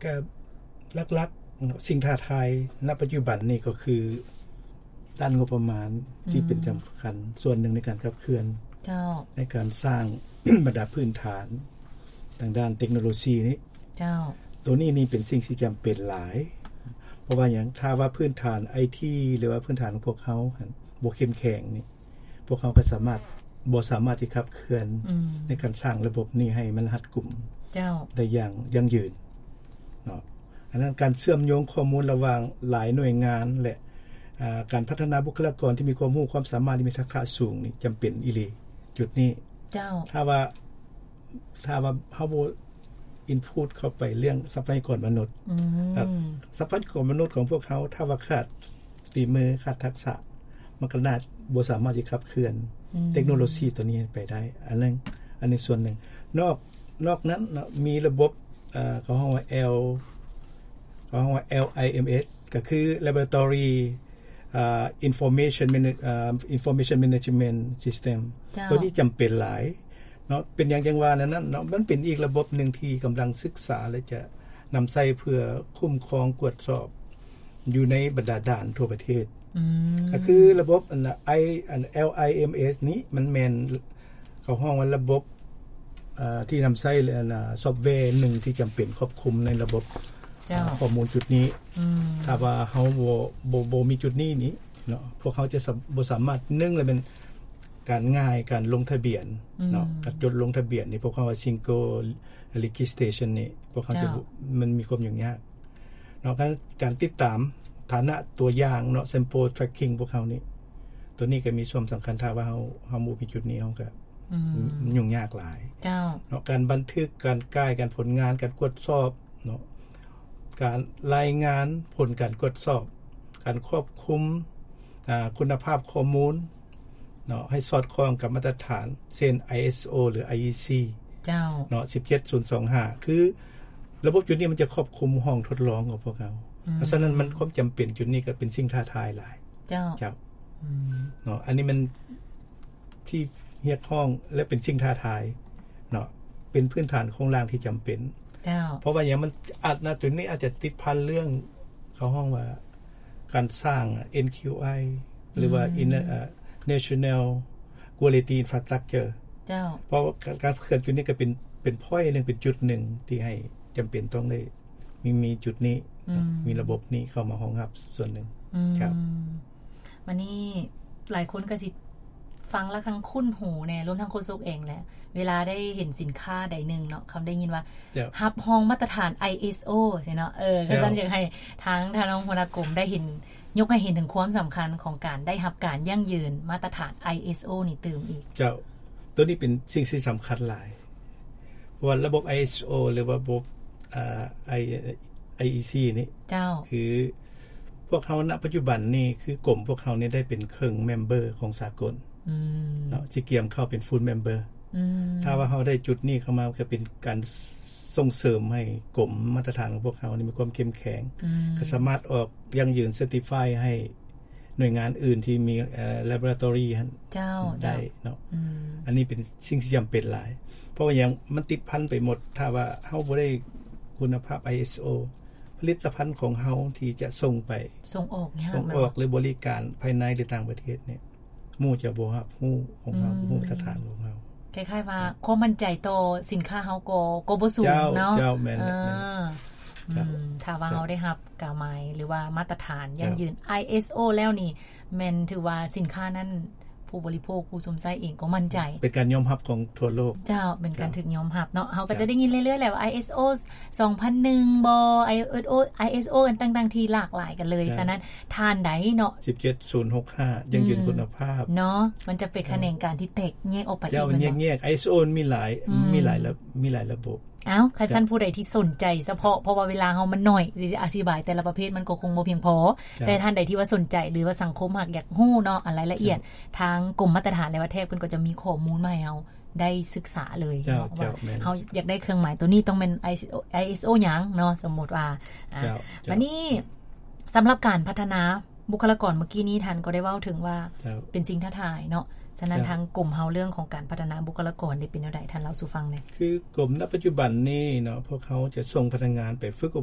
ກໍຫຼັກໆ ເນາະ ສິ່ງທ້າທາຍ ນະ ປັດຈຸບັນນີ້ກໍຄືດ້ານງົບປະມານ ອືມ ທີ່ເປັນສຳຄັນສ່ວນໜຶ່ງໃນການຂັບເຄື່ອນ ເຈົ້າ ໃນການສ້າງ ບັນດາພື້ນຖານທາງດ້ານເຕັກໂນໂລຊີນີ້ ເຈົ້າ ໂຕນີ້ນີ້ເປັນສິ່ງທີ່ຈຳເປັນຫຼາຍ. ເພາະວ່າຫຍັງ? ຖ້າວ່າພື້ນຖານໄອທີ ຫຼືວ່າພື້ນຖານຂອງພວກເຮົາຫັ້ນບໍ່ເຂັ້ມແຂງນີ້ ພວກເຮົາກໍສາມາດ ບໍ່ສາມາດທີ່ຂັບເຄື່ອນ ອືມ ໃນການສ້າງລະບົບນີ້ໃຫ້ມັນຮັດກຸມ ເຈົ້າ ໄດ້ຢ່າງຢັ້ງຢືນເນາະ. ອັນນັ້ນການເຊື່ອມໂຍງຂໍ້ມູນລະຫວ່າງຫຼາຍໜ່ວຍງານ ແລະ ອາ ການພັດທະນາບຸກຄະລາກອນທີ່ມີຄວາມຮູ້ຄວາມສາມາດ ແລະ ມີທັກສະສູງນີ້ຈຳເປັນອີ່ຫຼີ ຈຸດນີ້ ເຈົ້າ ຖ້າວ່າ ຖ້າວ່າເຮົາບໍ່ອິນພຸດເຂົ້າໄປເລື່ອງຊັບພະຍາກອນມະນຸດ ອືມ ແລ້ວຊັບພະຍາກອນມະນຸດຂອງພວກເຮົາ ຖ້າວ່າຂາດ ຝີມື ຂາດທັກສະ ມັນກໍໜ້າບໍ່ສາມາດທີ່ຂັບເຄື່ອນ ອືມ ເຕັກໂນໂລຊີຕົວນີ້ໄປໄດ້ ອັນນັ້ນ ອັນນີ້ສ່ວນໜຶ່ງ. ນອກ ນອກນັ້ນເນາະ ມີລະບົບ ເອີ ເຂົາຮ້ອງວ່າ L ເຂົາຮ້ອງວ່າ LIMS ກໍຄື Laboratory ເອີ Information Mana- ເອີ Information Management System ເຈົ້າ ຕົວນີ້ຈຳເປັນຫຼາຍເນາະ. ເປັນຫຍັງຈັ່ງວ່າແນວນັ້ນເນາະ? ມັນເປັນອີກລະບົບໜຶ່ງທີ່ກຳລັງສຶກສາ ແລະ ຈະນຳໃຊ້ເພື່ອຄຸ້ມຄອງກວດສອບ ຢູ່ໃນບັນດາດ່ານທົ່ວປະເທດ ອືມ ກໍຄືລະບົບອັນ I- ອັນ LIMS ນີ້ ມັນແມ່ນ ເຂົາຮ້ອງວ່າລະບົບ ເອີ ທີ່ນຳໃຊ້ ອັນ ຊອບແວໜຶ່ງທີ່ຈຳເປັນຄອບຄຸມໃນລະບົບ ເຈົ້າ ຂໍ້ມູນຈຸດນີ້ ອືມ ຖ້າວ່າເຮົາບໍ່ ບໍ່ ບໍ່ມີຈຸດນີ້ນີ້ເນາະ ພວກເຮົາຈະສາ- ບໍ່ສາມາດ ໜຶ່ງ ລະແມ່ນການງ່າຍການລົງທະບຽນເນາະ ອືມ ການຈົດລົງທະບຽນນີ້ ພວກເຮົາວ່າ Single Registration ນີ້ ພວກເຮົາຈະ ເຈົ້າ ມັນມີຄວາມຫຍຸ້ງຍາກ ເນາະ ການ ການຕິດຕາມຖານະຕົວຢ່າງເນາະ sample tracking ພວກເຮົານີ້ ຕົວນີ້ກໍມີສ່ວນສຳຄັນ ຖ້າວ່າເຮົາ ເຮົາບໍ່ມີຈຸດນີ້ ເຮົາກໍ ອືມ ຫຍຸ້ງຍາກຫຼາຍ ເຈົ້າ ເນາະ ການບັນທຶກ ການກ່າຍ ການຜົນງານ ການກວດສອບເນາະ ການລາຍງານຜົນການກວດສອບ ການຄວບຄຸມ ອາ ຄຸນນະພາບຂໍ້ມູນ ເນາະ ໃຫ້ສອດຄ່ອງກັບມາດຕະຖານ ເຊັ່ນ ISO ຫຼື IEC ເຈົ້າ ເນາະ ສິບເຈັດສູນສອງຫ້າ ຄືລະບົບຈຸດນີ້ມັນຈະຄອບຄຸມຫ້ອງທົດລອງຂອງພວກເຮົາ ອືມ ເພາະສະນັ້ນມັນ ຄວາມຈຳເປັນຈຸດນີ້ກໍເປັນສິ່ງທ້າທາຍຫຼາຍ ເຈົ້າ ເຈົ້າ ອືມ ເນາະ ອັນນີ້ມັນທີ່ຮຽກຮ້ອງ ແລະ ເປັນສິ່ງທ້າທາຍເນາະ ເປັນພື້ນຖານໂຄງລ່າງທີ່ຈຳເປັນ ເຈົ້າ ເພາະວ່າຫຍັງ? ມັນອາດ ນະ ຈຸດນີ້ອາດຈະຕິດພັນເລື່ອງ ເຂົາຮ້ອງວ່າ ການສ້າງ NQI ຫຼືວ່າ ອືມ Inter- ເອີ National Quality Infrastructure ເຈົ້າ ເພາະວ່າການ ການເຄື່ອນຈຸດນີ້ກໍເປັນ ເປັນ point ໜຶ່ງ ເປັນຈຸດໜຶ່ງທີ່ໃຫ້ຈຳເປັນຕ້ອງໄດ້ມີ ມີຈຸດນີ້ ອືມ ມີລະບົບນີ້ເຂົ້າມາຮອງຮັບສ່ວນໜຶ່ງ ອືມ ເຈົ້າ ບາດນີ້ຫຼາຍຄົນກໍຊິຟັງລະຄັງຄຸ້ນຫູແດ່ ລວມທັງໂຄສົກເອງແຫຼະ ເວລາໄດ້ເຫັນສິນຄ້າໃດໜຶ່ງເນາະ ຄຳໄດ້ຍິນວ່າ ເຈົ້າ ຮັບຮອງມາດຕະຖານ ISO ຊີ້ເນາະ ເອີ ເຈົ້າ ກໍຊັ້ນຢາກໃຫ້ທາງທ່ານຮອງຫົວໜ້າກົມໄດ້ເຫັນ ຍົກໃຫ້ເຫັນເຖິງຄວາມສຳຄັນຂອງການໄດ້ຮັບການຢັ້ງຢືນມາດຕະຖານ ISO ນີ້ຕື່ມອີກ ເຈົ້າ ໂຕນີ້ເປັນສິ່ງທີ່ສຳຄັນຫຼາຍ ເພາະວ່າລະບົບ ISO ຫຼືວ່າລະບົບ ອາ I- IEC ນີ້ ເຈົ້າ ຄືພວກເຮົາ ນະ ປັດຈຸບັນນີ້ ຄືກົມພວກເຮົານີ້ໄດ້ເປັນເຄິ່ງ member ຂອງສາກົນ ອືມ ເນາະ ຊິກຽມເຂົ້າເປັນ full member ອືມ ຖ້າວ່າເຮົາໄດ້ຈຸດນີ້ເຂົ້າມາ ກໍເປັນການສົ່ງເສີມໃຫ້ກົມມາດຕະຖານຂອງພວກເຮົານີ້ມີຄວາມເຂັ້ມແຂງ ອືມ ກໍສາມາດອອກຢັ້ງຢືນ certify ໃຫ້ໜ່ວຍງານອື່ນທີ່ມີ ເອີ laboratory ຫັ້ນ ເຈົ້າ ໄດ້ເນາະ ອືມ ອັນນີ້ເປັນສິ່ງທີ່ຈຳເປັນຫຼາຍ ເພາະວ່າຫຍັງ? ມັນຕິດພັນໄປໝົດ ຖ້າວ່າເຮົາບໍ່ໄດ້ຄຸນນະພາບ ISO ຜະລິດຕະພັນຂອງເຮົາທີ່ຈະສົ່ງໄປ ສົ່ງອອກຍາກ ສົ່ງອອກ ແມ່ນບໍ່? ຫຼືບໍລິການພາຍໃນ ຫຼືຕ່າງປະເທດນີ້ ໝູ່ຈະບໍ່ຮັບຮູ້ຂອງເຮົາ ອືມ ບໍ່ຮູ້ມາດຕະຖານຂອງເຮົາ ຄ້າຍໆວ່າ ຄວາມໝັ້ນໃຈຕໍ່ສິນຄ້າເຮົາກໍ ກໍບໍ່ສູງເນາະ ເຈົ້າ ເຈົ້າ ແມ່ນ ເອີ ແມ່ນ ອືມ ຖ້າວ່າເຮົາໄດ້ຮັບກາໝາຍ ຫຼືວ່າມາດຕະຖານ ເຈົ້າ ຢັ້ງຢືນ ISO ແລ້ວນີ້ ແມ່ນຖືວ່າສິນຄ້ານັ້ນ ຜູ້ບໍລິໂພກ ຜູ້ຊົມໃຊ້ເອງກໍໝັ້ນໃຈ ເປັນການຍອມຮັບຂອງທົ່ວໂລກ ເຈົ້າ ເປັນການ ເຈົ້າ ຖືກຍອມຮັບເນາະ ເຮົາກໍ ເຈົ້າ ຈະໄດ້ຍິນເລື້ອຍໆແຫຼະວ່າ ISO ສອງພັນໜຶ່ງບໍ ISO ISO ອັນຕ່າງໆທີ່ຫຼາກຫຼາຍກັນເລີຍ ເຈົ້າ ສະນັ້ນ ທ່ານໃດເນາະ ສິບເຈັດສູນຫົກຫ້າ ຢັ້ງຢືນ ອືມ ຄຸນນະພາບເນາະ ມັນຈະເປັນຂະແໜງການທີ່ແຕກແຍກອອກໄປ ເຈົ້າ ອີກ ມັນແຍກໆ ISO ມັນມີຫຼາຍ ອືມ ມີຫຼາຍລະ- ມີຫຼາຍລະບົບ ເອົ້າ ຄັນຊັ້ນ ເຈົ້າ ຜູ້ໃດທີ່ສົນໃຈສະເພາະ ເພາະວ່າເວລາເຮົາມັນໜ້ອຍ ຊິອະທິບາຍແຕ່ລະປະເພດມັນກໍຄົງບໍ່ພຽງພໍ ເຈົ້າ ແຕ່ທ່ານໃດທີ່ວ່າສົນໃຈ ຫຼືວ່າສັງຄົມຫາກຢາກຮູ້ເນາະ ອັນລາຍລະອຽດ ເຈົ້າ ທາງກົມມາດຕະຖານ ແລະ ວັດແທກ ເພິ່ນກໍຈະມີຂໍ້ມູນມາໃຫ້ເຮົາ ໄດ້ສຶກສາເລີຍ ເຈົ້າ ເນາະ ເຈົ້າ ວ່າ ແມ່ນ ເຮົາຢາກໄດ້ເຄື່ອງໝາຍໂຕນີ້ຕ້ອງແມ່ນ ISO ຫຍັງເນາະ ສົມມຸດວ່າ ອ່າ ເຈົ້າ ເຈົ້າ ບາດນີ້ ສຳລັບການພັດທະນາບຸກຄະລາກອນ ເມື່ອກີ້ນີ້ທ່ານກໍໄດ້ເວົ້າເຖິງວ່າ ເຈົ້າ ເປັນສິ່ງທ້າທາຍເນາະ ສະນັ້ນ ເຈົ້າ ທາງກົມເຮົາເລື່ອງຂອງການພັດທະນາບຸກຄະລາກອນນີ້ເປັນແນວໃດ ທ່ານເລົ່າສູ່ຟັງແດ່? ຄືກົມ ນະ ປັດຈຸບັນນີ້ເນາະ ພວກເຮົາຈະສົ່ງພະນັກງານໄປຝຶກອົບ